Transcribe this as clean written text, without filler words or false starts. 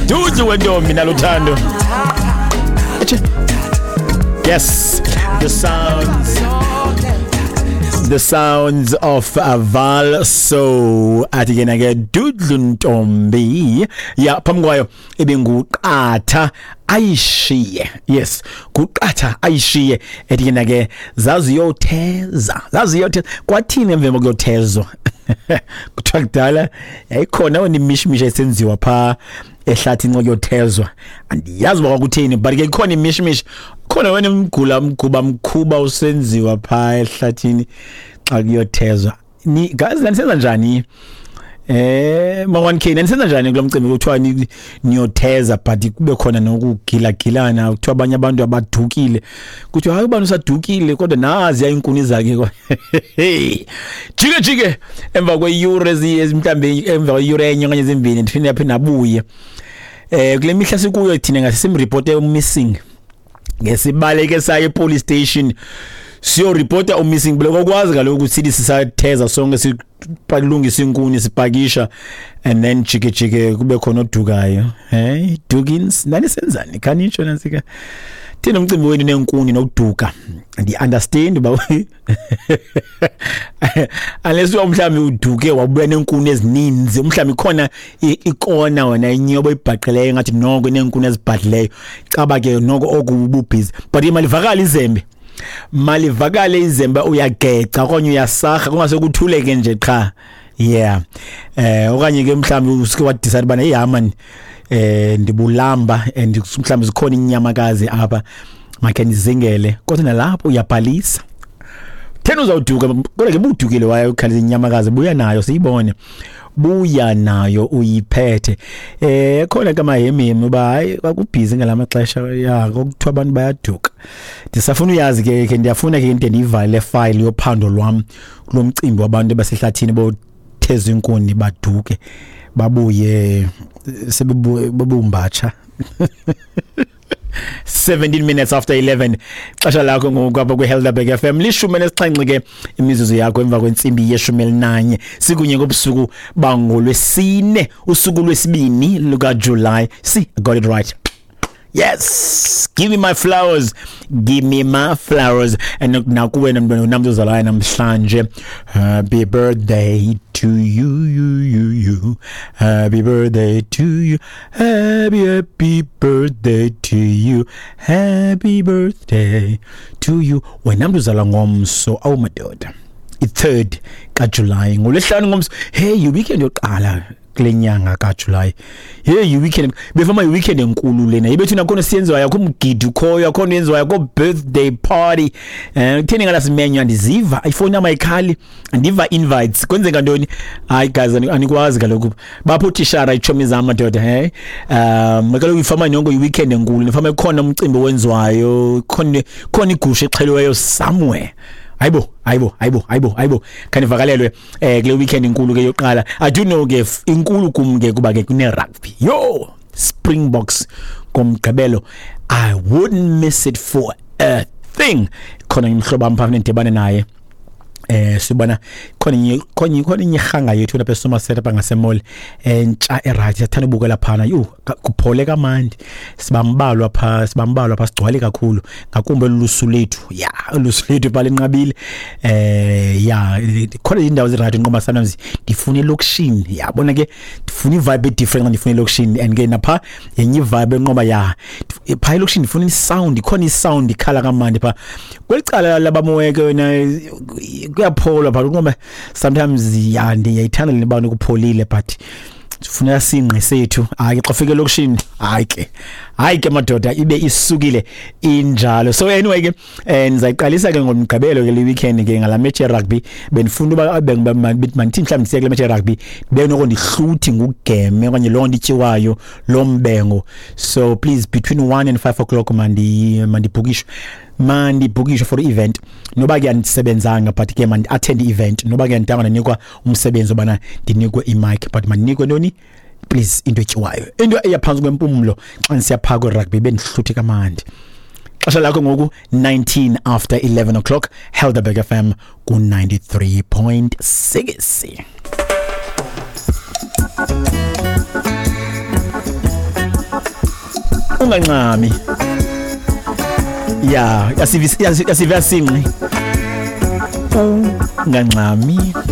Dudu wentombi naluthando. Yes, the sounds. The sounds of Aval so athi ke nake Dudlu Ntombi ya phambi kwayo ibinguqatha ayishiye. Yes, guqatha ayishiye ethi ke nake zaziyotheza zaziyotheza kwathini emva kokuyothezwa. Kuthiwa kudala yayikhona wena imishmisha esenziwa pha ehlathini ngokuyothezwa, andiyazi uba kwakutheni, but ke ikhona imishmisha khona wena imgula mguba mkhuba usenziwa pha ehlathini xa kuyothezwa. Ni guys, nanisenza njani? Ma 1K nanisenza njani kulo mcimbi kuthiwa niyotheza but kube khona nokugilagilana, kuthiwa abanye abantu abadukile, kuthiwa hayi ubani usadukile kodwa nazi inkuni zakhe. Jike jike emva kweyure mhlambe emva kweyure enye okanye ezimbini ndiphinde yaphinda abuye. Kule mihla sikuyo thina ngasimreporte missing, ngesibaleke saye police station siyoreporta umissing. Bekwazi kaloku sithi sisatheza sonke sipalungisa inkuni sipakisha and then jike jike kube khona odukayo. Hey Dugins, nanisenzani khanitsho nansika thina umcimbi wenu nenkuni nokuduka ndi understand ba unless mhlawumbe uduke wabuya nenkuni ezininzi, mhlawumbe ikhona ikona wena inyobo ibhaqeleyo ngathi noko nenkuni ezibhadleyo caba ke noko okububhizi, but imalivakala izembe, malivakale izembe uyageca okanye uyasaha kungase kuthuleke nje qha. Yeah, okanye ke mhlawumbe usuke wa decide bana hey man ndibulamba and mhlawumbe zikhona inyamakazi apha makhe ndizingele, kodwa nalapho uyabhalisa thena uzawuduka, kodwa ke budukile waye ukhalisa inyamakazi, buya nayo siyibone, buya nayo uyiphethe. Khona ke mahemhemu uba hayi kwakubhizi ngalamaxesha ya kokuthiwa abantu bayaduka. Ndisafuna uyazi ke ndiyafuna ke into ndiyivale file yophando lwam kulo mcimbi wabantu abasehlathini botheza inkuni baduke babuye sebebumbatsha. 17 minutes after 11 xesha lakho ngoku apha kwi-Helderberg FM 17 ke imizuzu yakho emva kwentsimbi ye-11 sikunye ngobusuku bangolwesine usuku lwesibini lukaJuly. See, I got it right. Yes, give me my flowers, give me my flowers. And nakuwe namntwana namntu ozalayo namhlanje, happy birthday to you, you, you, you. Happy birthday to you, happy, happy birthday to you, happy birthday to you. Wena mntu uzalwa ngomso, awu madoda, i-3rd kaJuly ngolwesihlanu ngomso. Hey, weekend yokuqala kule nyanga kaJuly. Hey, weekend befama weekend enkulu lena ibethu nakhona siyenziwayo akho umgidi ukhoyo akhona yenziwayo akho birthday party. Kutheni ngalasimenywa ndiziva ifoni yam ayikhali andiva invites kwenzeka ntoni? Hayi guys, anikwazi kaloku bapho utishara itshomi zam madoda. Hey, kaloku ifama yonke i-weekend enkulu ifama ikhona umcimbi owenziwayo khona khona igusha exheliweyo somewhere. Hayibo hayibo hayibo hayibo hayibo khanivakalelwe kule weekend inkulu ke yokuqala. I do know ke inkulu kum ke kuba ke kune rugby yo Springboks ngomgqibelo. I wouldn't miss it for a thing. Khona imhlobo am phambi ndidibane naye sibona khona khona khona inyihanga yethu lapha eSomerset apha ngasemall entsha eright siyathanda ubukela phana. Yo kuphole kamandi sibambalwa pha sibambalwa pha sigcwale kakhulu ngakumbi olusu lethu ya olusu lethu balinqabile. Ya khona indawo eziright nqoba sometimes ndifuna elokishini yabona ke ndifuna ivibe different ndifuna elokishini and ke napha yenye ivibe enqoba ya pha elokishini ndifuna isound khona isound ikhala kamandi pha kwelicala labamoyeke wena kuyapholwa pha ngoba sometimes ya ndiyayithanda le bana kupholile but sifuna singqi sethu. Hayi xa ufika elokishini hayi ke hayi ke madoda ibe isukile injalo. So anyway ke ndizayiqalisa ke ngomgqibelo ke le weekend ke ngala match ye rugby. Bendifuna uba mandithi mhlawumbi siye kule match ye rugby benoko ndihluthi ngugeme okanye loo nto ityiwayo lo mbengo. So please between 1 and 5 o'clock mandibhukishwe mandibhukishwe for event noba ke andisebenzanga but ke mandi attend event noba ke andidanga ndanikwa umsebenzi obana ndinikwe imic but mandinikwe ntoni please into etyiwayo into eyaphantsi kwempumlo xa ndisiya phaa kwi-rugby bendihluthe kamandi. Xesha lakho ngoku 19 after 11 o'clock Helderberg FM ku 93.6. Ungancami. Ya, yasive, yasive, sinqi. Ungancami.